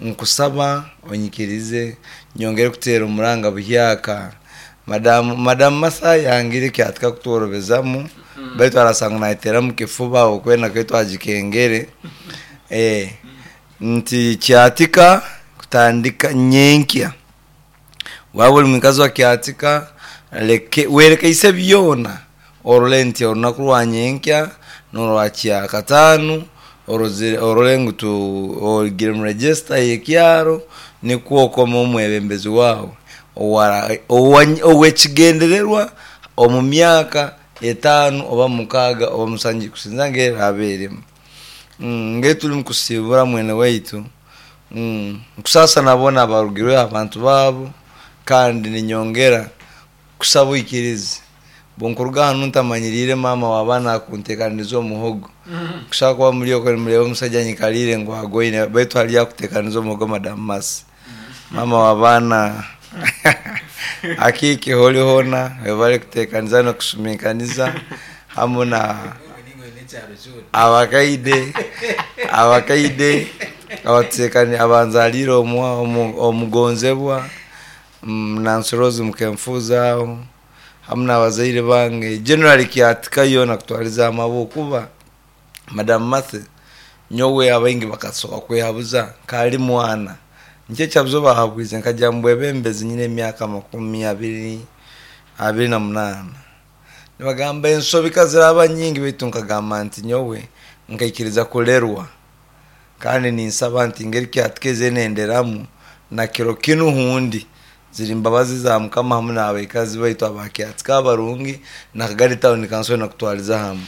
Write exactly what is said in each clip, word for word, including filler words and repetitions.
Nkusaba onyikirize nyongere kuteera omuranga buhyaka. Madamu Madamu Martha yangire kyatika kutworobezamu, baitu arasanga nayetera mu kifuba okwenda kwe twagikengere. Eh, nti kyatika kutandika nyenkya. Waba ori mwikazi wa Kyatika, leke werekeise byona orole nti orunaku rwa nyenkya n'orwa kyakataano orozire orole ngu tu orugire mu register y'ekyaro nikwo okome omwebembezi waawe owara owa- ow'ekigendererwa omu myaka etaano oba mukaaga oba musanju kusinza ng'eraba erimu. Mm, nge turi mukusibura mwene waitu, mm, nkusaasa nabona abarugirwe abantu baabo, kandi ninyongera kusaba oikirize bwonkuruga hanu ntamanyirire maama w'abaana akunteekaniriza omuhogo. Kushaka kuba muri okwo nimureba omusajja anyikarire ngu agoine, baitu hariyo akuteekaniza omuhogo Madamu Mercy. Maama w'abaana akiike hori hoona webare kuteekaniza n'okusuminkaniza hamu na abakaide abakaide abatuteekani abanzarire omu- omu- omugonzebwa, mm, Nancy Rose Mukenfuza aho hamu n'abazaire bange generally Kyatika yoona kutwariza hamwe, ahabwokuba Madamu Martha nyowe abaingi bakasoka kwehabuza nkali mwana nikyo ekyabuzo bahabwize nkajya mu bwebembezi nyine emyaka makumi abiri abiri na munaana. Nibagamba ensobi kaziraba nyingi, baitu nkagamba nti nyowe nkaikiriza kulerwa, kandi ninsaba nti ngeri Kyatika eze nenderamu na kiro kinu hundi ziri mbabazi za Mukama hamu n'abaikazi baitu aba Kyatika abarungi na Kagadi Town Council nakutwariza hamwe.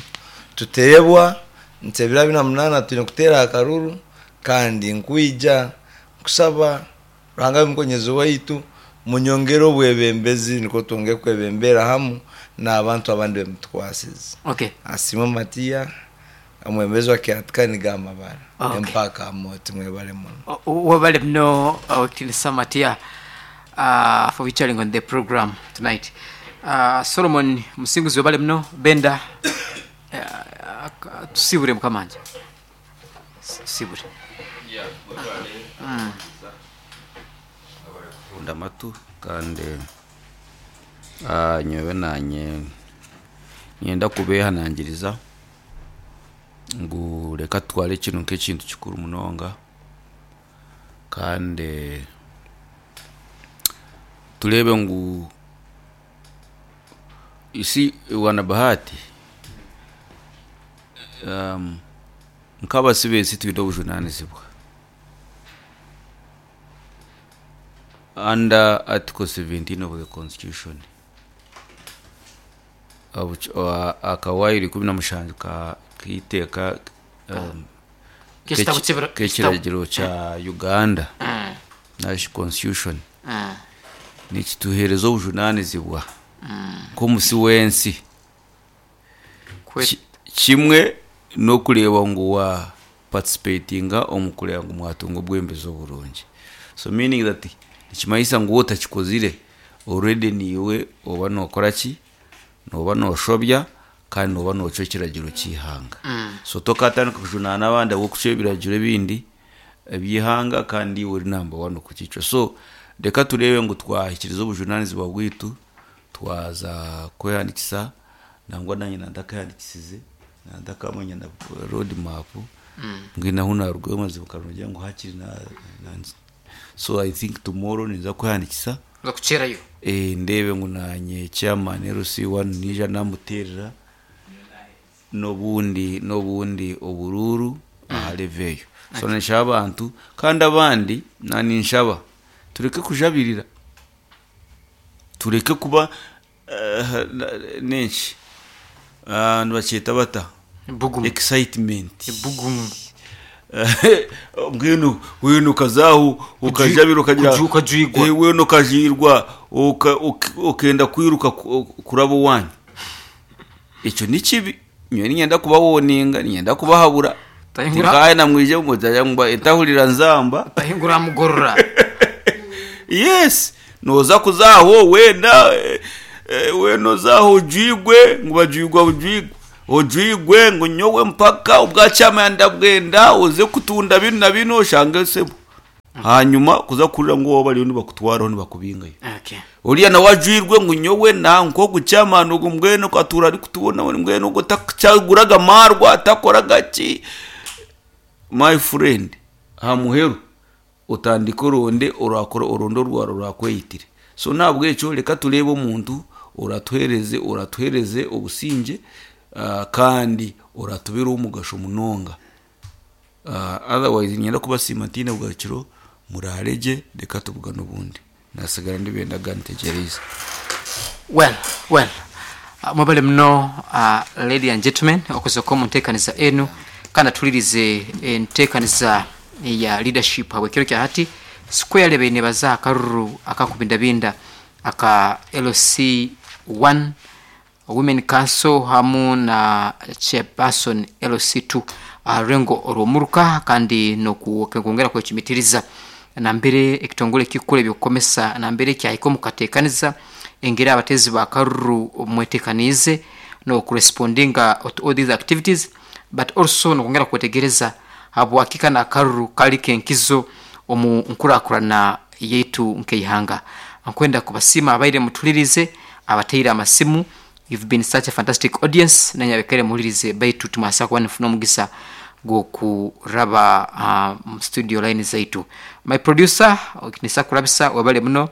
Tuteebwa nti ebiro abiri na munaana twine kuteera akaruru, kandi nkwija kusaba Ruhanga abe mukonyezi waitu munyongere obwebembezi nikwo twongere kwebembera hamu n'abantu abandi bemutukwasize. Okay. Asiimwe Matiya, omwebembezi wa Kyatika nigo amabara. Okay. Empaka amoti mwebale muno. Webale muno, Owekitinisa Matiya, uh, for featuring on the program tonight. Uh, Solomon Musinguzi webale muno. Benda, uh, tusibure mukamanja. Tusibure. Kunda amatu kandi ah, nyowe nanye nyenda kubehanangiriza ngu reka tutware kinu nk'ekintu kikuru munonga, kandi turebe ngu isi wana bahati, um, nk'abasi b'ensi twine obujunanizibwa under Article seventeen of the Constitution. Abuch- uh, akawairi kumi na mushanju ka kiteeka um, K'ekitabo k'eki- ky'ebira- k'ekiragiro kya Uganda Mm, national constitution mm, nikituheereza obujunanizibwa nk'omusi w'ensi. Kwe- Ki- kimwe n'okureeba ngu wa participatinga omu kureeba ngu mwatunga obwembezi oburungi, so meaning that nikimanyisa ngu wotakikozire already niiwe oba nokora ki, noba noshobya kandi noba nocwa ekiragiro ky'eihanga. So tokatandika kujunaana abandi ahabw'okucwa ebiragiro ebindi eby'eihanga kandi iwe ori number one okukicwa. So reka tureebe ngu twahikiriza obujunanizibwa bwitu twaza kwehandikisa, nangwa nanye nantakehandikisize nantakamanya na road map mbwenu ahu narugayo mazima nkagira ngu hakiri na, na, so I think tomorrow ninza kwehandikisa. Nza kukyerayo. Eh, ndebe ngu nanye chairman L C one nija namuterera n'obundi n'obundi obururu aha level eyo. So ninshaba abantu kandi abandi naninshaba tureke kujabirira, tureke kuba eh, nenki, Ah, nibakyeta bata? Bugumu. Excitement. Bugumu. Mbwenu wenu ukazaho ukajabira ukagira kuju- ukajwigwa. Eh, wenu ukajirwa uka- uk- ukenda kwiruka ku- kuraba owanyu, ekyo ni kibi. Nyowe ninyenda kubawoninga, ninyenda kubahabura. Tahingura- Tinkaye namwije mujaya etahurira nzamba. Tahingura mugorora. Yes, noza kuzaho wenda eh, eh, wena ozaho ojwigwe ngu bajwigwa bujwigwe ojwigwe ngu nyowe mpaka ubwacyama ndabwenda uze kutunda bino na bino oshange sebo. Hanyuma kuza kurira ngu wowe bariyo nibakutwaraho nibakubingayo. Okay. Oriya nawe ajwirwe ngu nyowe na nkogu chairman ogu mbwenu katura ari kutubona mbwenu ogu takuchaguraga marwa atakoraga ki. My friend, hamuheru otandika oronde orakora orondo orwaro rwakweyitire. So nabwo ekyo reka turebe omuntu oratuhereze oratuhereze obusinge, uh, kandi oratubera omugasho munonga. Uh, otherwise nyenda kubasiima ntiine bwakiro murareje reka tubugane obundi nasigara ndibendaga ntegereze. Well, well. Uh, mwebale muno, uh, ladies and gentlemen, okusoka omu nteekaniza enu kandi atulirize enteekaniza ya leadership habwekiro kya hati square beine baza akaruru akakubindabinda aka L C one Women Council hamu na chairperson L C two arengo orwomuruka kandi nokwongera kwekimitiriza nambere ekitongole kikule ebyokukomesa nambere kyahika omukateekaniza engeri abatezi bakaruru mwetekanize no kurespondinga to all these activities, but also nokwongera kwetegereza habwakika na karuru kali kenkizo omu nkurakurana yetu nkeihanga. Nkwenda kubasima abaire mutulirize abateire amasimu. You've been such a fantastic audience. Nanyabekere mulirize baitu tumasa kuba nifuna omugisa gwokuraba uh, studio line zaitu. My producer okinisa kurabisa wabale muno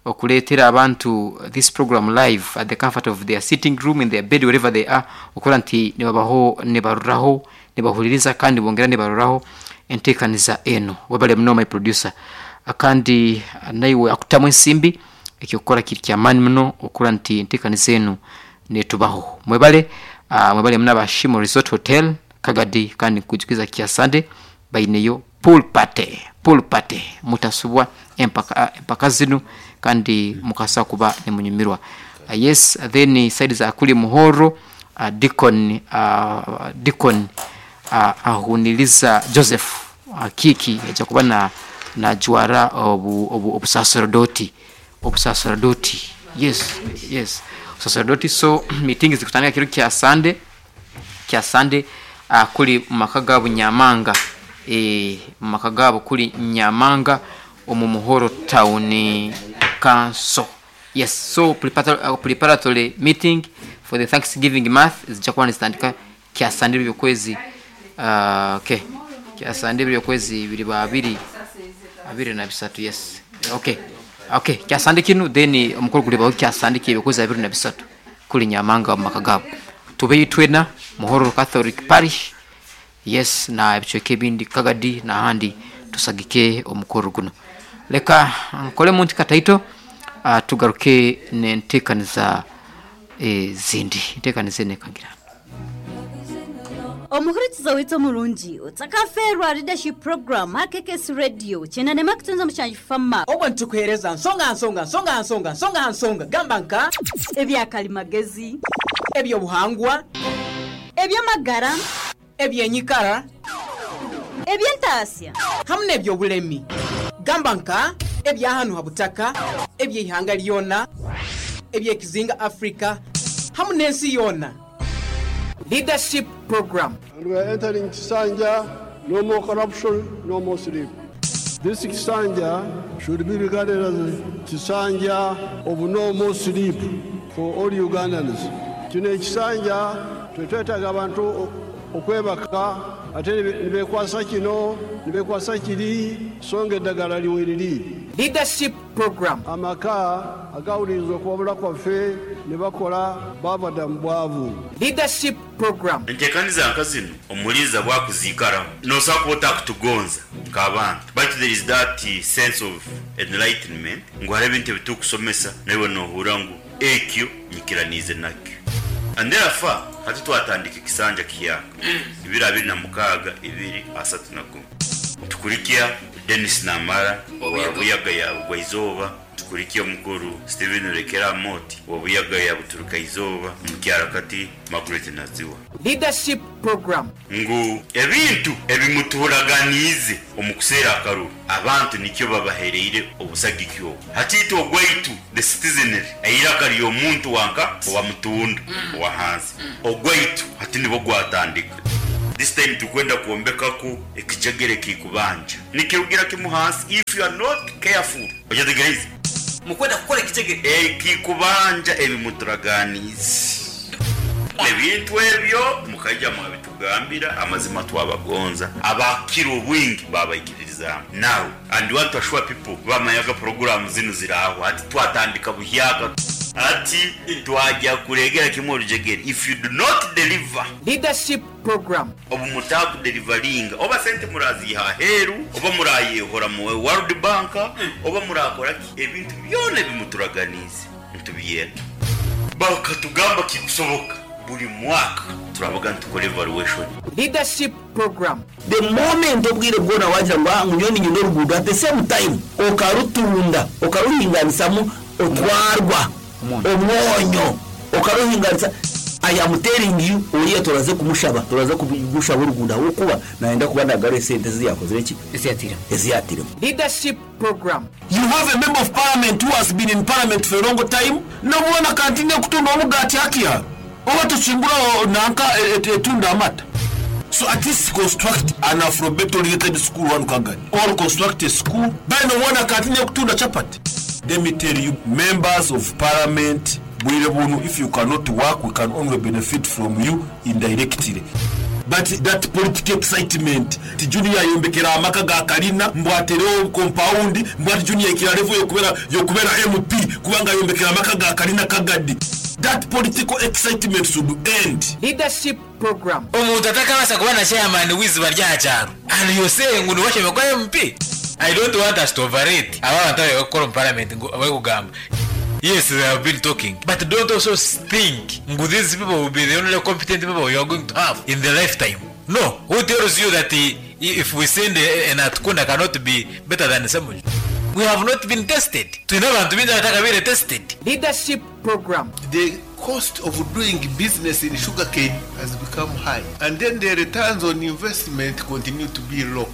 okuleetera abantu this program live at the comfort of their sitting room, in their bed, wherever they are, okora nti nibabaho nibaruraho nibahuliriza kandi bongera nibaruraho enteekaniza eno. Wabale muno my producer. Akandi naiwe akutamu ensimbi ekyokukora kiri kyamaani muno okora nti enteekaniza eno netubaho. Mwebale, uh, mwebale muno abashimo Resort Hotel Kagadi, kandi nkujukiza kya Sunday baineyo pool party, pool party mutasubwa empaka, empaka zinu kandi mukasa kuba nemunyumirwa. Uh, yes, then side za kuli Muhoro, uh, Deacon, uh, Deacon uh, ahuniliza Joseph uh, Kiki aja kuba na na juara obu obu obusaserdoti obusaserdoti yes yes sacerdoti. So meeting zikutania kiro kya Sunday kya Sunday uh, kuli maka gabo Nyamanga, eh maka gabo kuli Nyamanga omu Muhoro Town Council. Yes, so preparatory, uh, preparatory meeting for the Thanksgiving month zijakuwa nizitandika kya Sunday byokwezi uh, okay kya Sunday byokwezi biri babiri abiri na bisatu. Yes, okay okay kya Sunday kinu then omukuru kulibaho kya Sunday kibyokwezi abiri na bisatu kuli Nyamanga mu maka gabo tube twena Muhoro Catholic Parish. Yes, na ebichweke bindi Kagadi na handi tusagike omukuru guno. Leka nkole muntu kataito, uh, tugaruke nentekaniza e, zindi ntekanize nekagira omuhurikiza witso murungi utsakaferwa leadership program K K S radio chena nema kutunza mushanji fama obwo ntukuhereza nsonga nsonga nsonga nsonga nsonga nsonga gamba nka ebyakalimagezi ebyobuhangwa ebyamagara ebyenyikara ebyentasya hamwe n'ebyobulemi gamba nka ebyahanu habutaka ebyihanga lyona ebyekizinga Africa hamwe n'ensi yona. Leadership program. And we are entering Kisanja, no more corruption, no more sleep. This Kisanja should be regarded as Kisanja of no more sleep for all Ugandans. Kino ekisanja twetwetaaga abantu okwebaka ate nibekwasa kino nibekwasa kiri songa eddagala liweriri. Leadership program. Amaka agawuliriza okuwabula kwaffe ne bakola bava dda mu bwavu. Leadership program. Enteekaniza nka zino omuliza bwakuzikaramu nosobola kuba otakutugonza nk'abantu, but there is that sense of enlightenment ngu hariho ebintu ebitukusomesa naiwe nohura ngu ekyo nyikiraniize nakyo. And therefore hati twatandika ekisanja kiyaka ibiri abiri na mukaaga ibiri asatu na gumu tukurikia Dennis Namara wa Buyaga ya Bugwaizooba, tukurikia omukuru Steven Rekera Moti wa Buyaga ya Buturuka Izooba, mukyarakati Margaret Naziwa. Leadership program. Ngu ebintu ebimuturaganize omukuseera akaruru abantu nikyo babahereire obusagiki obwo. Hatiitwe ogwaitu the citizenry eiraka ly'omuntu wanka owa mutunda owa hansi ogwaitu hati nibo gwatandika. This time tukwenda kuombekako ekijegere kikubanja nikirugira kimu hansi. If you are not careful, ojategereza mukwenda kukora ekijegere ekikubanja ebimuturaganizi ebintu ebyo mukaija mwabitugambira amazima twabagonza abakira obwingi babaikiriza. Now and want to assure people bamayaga program zinu ziraho ati twatandika buhyaka ati twajya kuregera kimwe orujegere. If you do not deliver leadership program, obu mutaku deliveringa oba sente muraziha heru oba murayehora mu World Bank oba murakora ebintu byone bimuturaganize ntubiyenda bakatugamba kikusoboka buri mwaka turabaga ntukore evaluation. Leadership program, the moment obwire bwona wagira ngo ngunyoni nyine rugudo at the same time okarutunda okaruhinganisamu otwarwa omwonyo okaruhinganisa. I am telling you, oriya turaze kumushaba turaze kugushaba uruguda wokuba naenda kuba ndagare sente ziyakoze iki eziyatira eziyatira. Leadership program, you have a member of parliament who has been in parliament for a long time nobona continue kutunda omugati hakia oba tuchimbura nanka etunda amata. So at least construct an Afrobeat oriented school one kagani or construct a school by no one continue kutunda chapati. Let me tell you, members of parliament, if you cannot work, we can only benefit from you indirectly. But that political excitement, ti junior yombekera amaka ga kalina mbwatereo compound mbwati junior ikira level yokubera yokubera M P kubanga yombekera amaka ga kalina kagadi. That political excitement should end. Leadership program, omuntu atakabasa kuba na chairman wiziba rya cyaro and you say ngo niwashe kwa M P. I don't want us to overrate abantu abakora mu parliament ngo abakugamba. Yes, they have been talking, but don't also think these people will be the only competent people you are going to have in the lifetime. No, who tells you that if we send an Atkunda cannot be better than someone? We have not been tested. To never to be that tested. Leadership program, the cost of doing business in sugarcane has become high, and then the returns on investment continue to be low.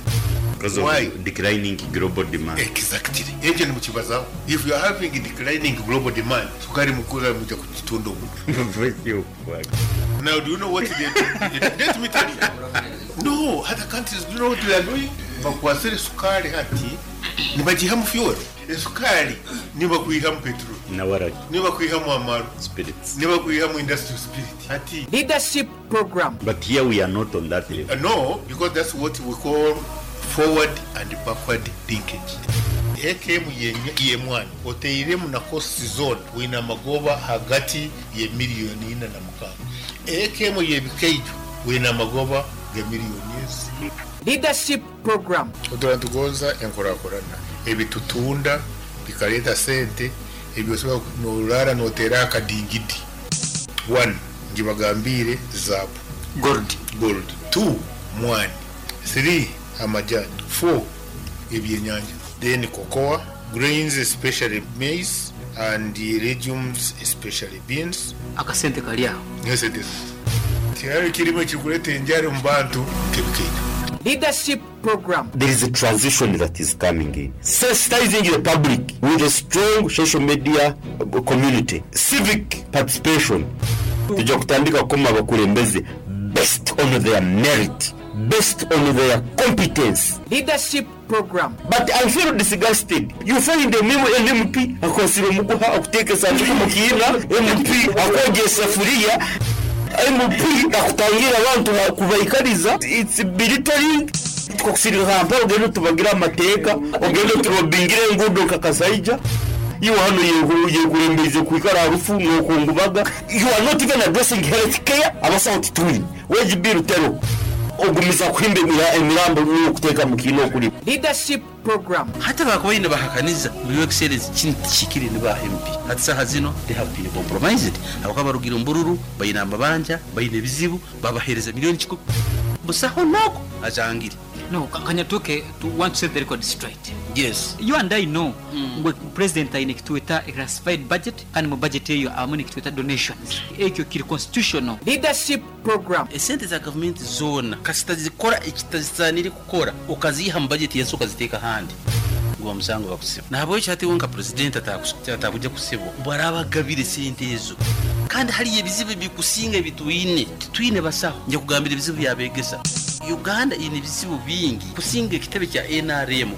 Because of why? Declining global demand. Exactly. Ekyo mukibazaho. If you are having declining global demand, sukari mukura muja kutunda omuntu. Now do you know what they do? Let me tell you. No, other countries, do you know what they are doing? Bakwasire sukari hati nibagiha mu fuel. Esukari nibakuiha mu petrol. Nawaraki. Nibakuiha mu amaru. Spirits. Nibakuiha mu industrial spirit. Hati. Leadership program. But here we are not on that level. Uh, no, because that's what we call forward and backward linkage. A K M ye mwana oteiremu na cost zone wina magoba hagati ye miliyoni ina na mukaaga. A K M ye bikeijo wina magoba ge miliyoni ezi. Leadership program, oturantugonza enkorakorana ebitutunda bikaleta sente ebyosobola norara notera akadingidi. One, ngibagambire zabu gold gold. Two, mwani. Three, amajani. Four, ebyenyanja. Then cocoa, grains especially maize, and the legumes especially beans. Akasente kali aho. Yes, it is. Tiyari kirimo kikuleta enjara mu bantu kebikeita. Leadership program, there is a transition that is coming in. Sensitizing the public with a strong social media community, civic participation. Tujja kutandika kukoma abakulembeze based on their merit, based on their competence. Leadership program, but I feel disgusted. You find a M P akosire omuguha okuteeka esanduku mu kiina, M P akwogya esafuriya, M P akutangira abantu kubaikariza. It's belittling. Tukakusirira hampa ogende tubagira amateeka ogende turobingire enguudo nkakasaija iwe hano yekurembeize kwikara harufu nokungubaga. You are not even addressing health care. Abasawo tituli wage bill tero ogumiza kuhimba emirambo n'okuteeka mu kiina okuli. Leadership program, hata bakubaine bahakaniza muri excellence kintu kikiri ni ba M P hati saha zino they have been compromised. Abakaba barugira mbururu bayina amabanja bayina ebizibu babahereza miliyoni kikumi busaho noko ajangire. No, Kanyatuke, to want to set the record straight. Yes. You and I know mm. Ngwe president aine kituweta classified budget kandi mu budget eyo abamu nikituweta donations. Ekyo kiri constitutional. Leadership program, esente za government zona kasita zikora ekitazisanire kukora okaziha mu budget yensi okaziteeka handi ngo musango bakusiba. Nabo ekyo ati wonka president atakuja kusibwa barabagabire sente ezo. Kandi hariyo ebizibu bikusinga ebitwine, titwine basaho. Nja kugambira ebizibu byabegesa. Uganda ine ebizibu bingi kusinga ekitebe kya N R M.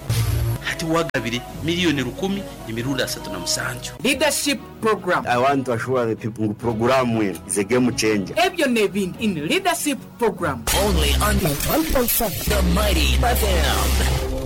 Hati wagabire miliyoni rukumi emirundi asatu na musanju. Leadership program. I want to assure the people ngu program is a game changer. Ebyo nebindi in leadership program. Only on one point seven The Mighty F M.